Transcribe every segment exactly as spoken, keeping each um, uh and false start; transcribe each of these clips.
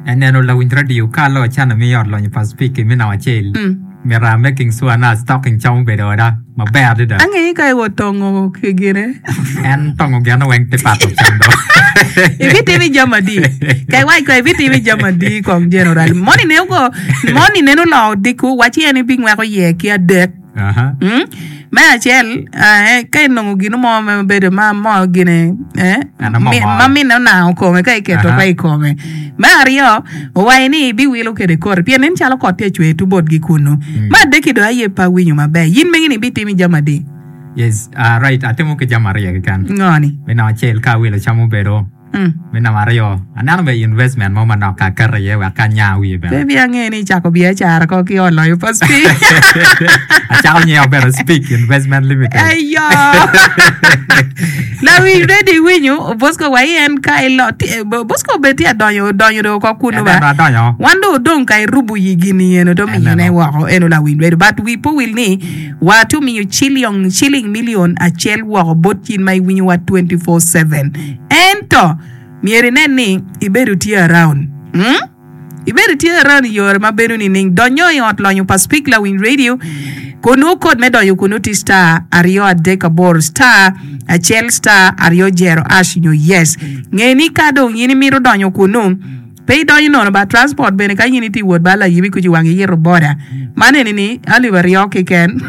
Eneno lawiny radio ka alo cana mi ot lonyo pa Speke mi namba acel. Mito making sure na stocking cam obedo oda maber adada. Angeyo ka iwot tongo ki gine. En tongo gin weng te pato cam do. Ibitimo jami adi? Ka iwac ko ibitimo jami adi kong general. Moni ne ogo moni neno oloko odiko waci en ibingweko iye ki adek. Aha. Mm? Me acel, eh, ka inongo gino mo ma bedo ma mo gine, eh, Ano mo mi- moro. ma minne onango kome ka iketo Aha. pe i kome. Me aryo, owaco ni ibiwilo kwede koti pien nen calo kot tye cwer tu botgi kunnu. Me adek-ki dong aye pe awinyo maber. In megi ni ibitimo jami adi? Yes, uh, right, atimo ki jami aryo keken. Ngo ni? Me namba acel ka awilo cam obedo. Mm. Me namba aryo, aneno be investment mo manok ka aketo iye wek ka anya wiye Pe bene. ibiange ni icako biacara ko ki oloyo pa Speak. Acako nyinga obedo Speak Investment Limited. Ayo! Lawiny ready winyo, Bosco wa en ka ilo, ti- Bosco obed tye adonyo, odonyo do oko kunu ba. Eneno adonyo. Wan do odong ka irubo yi gini eno to miyone Eneno. woko eno lawiny ready. But wi po wil ni wa to miyo chilion, shilling million acel woko bot in ma iwinyo wa twenty-four seven. Ento myero inen ni ibedo tye around. Hmm? Ibedo tye around i yore ma bedo nining? Donyo i ot lonyo pa Speak Lawiny Radio kunu kod me donyo kunu ti star aryo adek aboro star acel star aryo jero ash nyo yes. Nge ni ka dong in imito donyo kunu pe idonyo nono ba transport bene ka in itye wot ba layibi kuci wang iyito boda. Man eni ni alip aryo keken.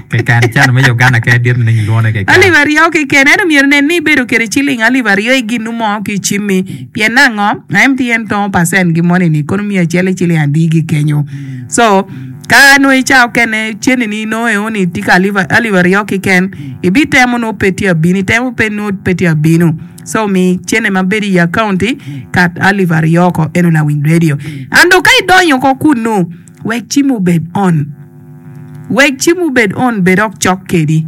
Keken cano me Uganda ke dit ni ilwone keken. Alip aryo keken ento myero nen ni ibedo kede ciling alip aryo i ginu mo ki i cimmi pien nango M T N tongo percent gi moni ni kono miyo acel i ciling adi gi kenyo. So ka nongo i ca okene ceni ni nongo eo ni tye ka alip alip aryo keken ibitemo nongo pe tye abino itemo pe nongo pe tye abino. So mi cene ma bedo i akaunti kat alip aryo ko eno lawiny radio. Ando ka idonyo ko kunu wek cim obed on. Wek cim obed on bed ok cok kedi.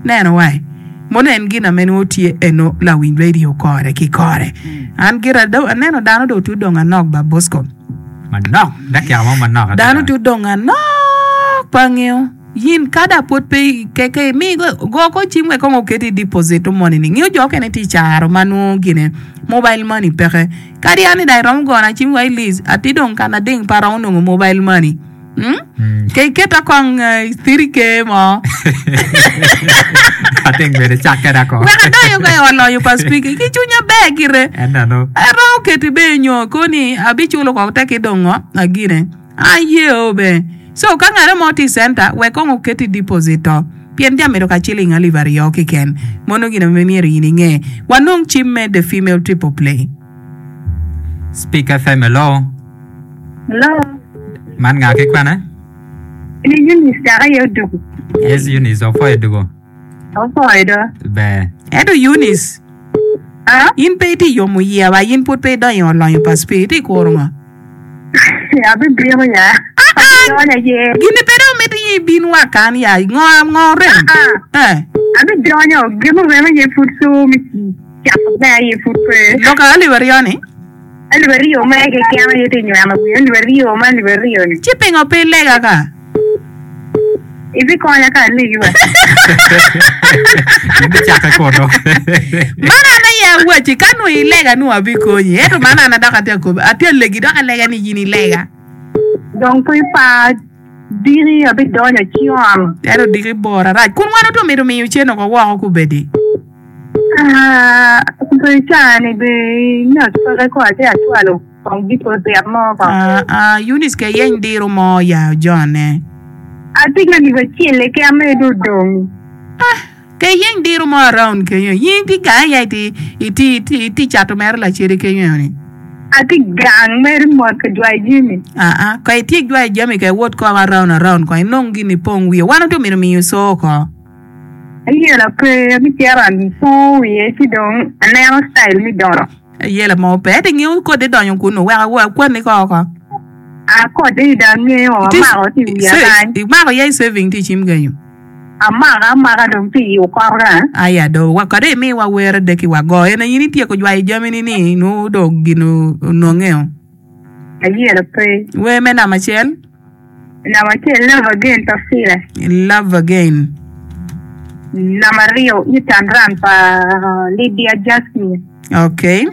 Neno wai. Mono en gin ame nongo tye eno lawiny radio kore ki kore. An gira do aneno dano do tye odong anok ba Bosco. Manok, dakika mo manok adada. Dano tye odong anok pa angeyo. Yin kada pwod pe keke mi go ko cim wek kong oket i deposit moni ni ngiyo jo okene tye i caro ma nongo gine mobile money peke. Kadi an ni dong iromo gona cim wa i list ati dong kana ding pe aromo nongo mobile money. Hmm? Ke iketa kong eh, three K mo. Ating bene cak keda ko. Wek adonyo ka i ot lonyo pa speaker ki cwinya ber gire. Eneno. Aromo keti be nyo koni abiculo kong tek idongo agine. Aye o be. So ka ngare mo tye i center wek kong oket i deposit to pien jami dok aciling alip aryo keken. Mono gin ma myero in inge. Wanong cim me the female triple play. Speak F M hello. Hello. Man nga ki kwene? Ni Eunice dok aye odugu. Yes Eunice opwoyo dugu. Opwoyo do. Ber. Ento Eunice, Ah? in pe itye yomo yia ba in pud pe idonyo i ot lonyo pa Spirit itye kuro ngo? Abibino ya. Abidonyo aye. Gini pe dong miti in ibin wa kan ya ngo ngo rem? Ah, Eh. abidonyo gin orem aye pud so mi cako me aye pud pe. Lok alip aryo ni? Alip aryo mere keken aye tye nyweno wiye alip aryo ma alip aryo ni. Ci pingo pe ilega ka? Ibikonya ka alegi wa. In icake kunu. Man an aye awacci, ka nongo ilega nongo abikonyi, ento man an dok atye akobi, atye alegi dok alega ni in ilega. Dong pe ipar, diki abidonyo con. Ento diki bor arac, kun wan oto mito miyo cen oko woko kubedi. Ah, pe caa-ni be ngat peke ko atye acwalo kong deposit mo ko. Ah, ah, Eunice ke yeny diro mo ya ojone. Atye ki alip acel keken mere dong odong. Ah, ke yeny diro mo around kenyo. In itye gang ya iti iti iti iti cato mere lacede kenyo ni. Atye gang mere mot ka jwayo jami. Ah, ah, ka itye jwayo jami ka iwot ko around around ko inong gin ipong wiye. Wan oto mito miyo co ko. Ayela pe, abicito apongo wiye ci dong aneno citayil me dono. Ayela mo pe, ento ingeyo kodi donyo kunnu wek akwanni ko oko. A kodi dong angeyo, amako tye i wiya kany. Imako ya i saving tye i cim kenyo? Amako amaka dong tye i okotka. Aya do, kadi imiwa wer adek-ki wago en aye in ityeko jwayo jamini ni nongo dong gin onongeo. Ayela pe. Wer me namba acel. Namba acel, Love Again pa Fila. Love Again. Namba aryo, Eat and Run pa Lydia Jasmine. Okay.